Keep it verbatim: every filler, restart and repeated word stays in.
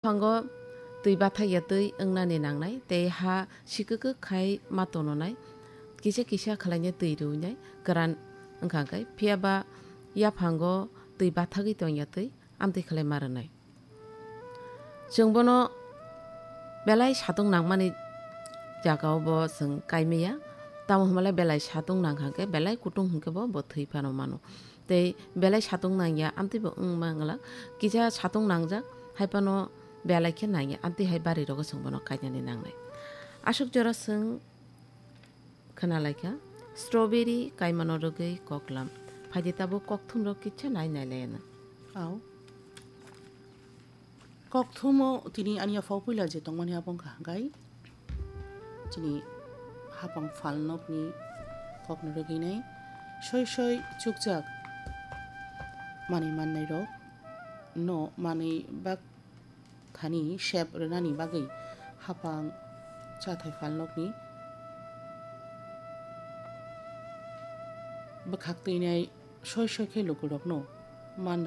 Yaphango twi bathakya twi wngnani nangnai, tei ha sikikik khai ma tononai, kisa kisa khwlainai twi rwinai kwran wngkha khe, phiyaba yaphango twi bathagwi tongya twi amtwi khlai ma rwnai. Chwng bono belai satung nangmani jagao bo chwng kaimaya, tamo hwnbalai belai satung nangkha khe belai kutung hwnkhe bo, bo thwi phano mano. Tei belai satung nangya, amtwi bo wng ma wngla. Kisa satung nangjak, hai phano belai khe nangya, amtwi hai bari rogo chwng bono kainani nangnai. Aswk jora chwng khwnalaikha, strawberry kaimano rwgwi koklam. Phaidi tabuk kokthumrok kisa nai nailayano. Au. Kokthumo tini ani yaphao puila je tongmani abo wngkha hwnkhe chini hapang phalnokni kokno rwgwinai soi soi chukjak manwi mannairok no manwi bak thani sep rwnani bagwi hapang chathai phalnokni bwkhak twinai soi soi khe lukurokno man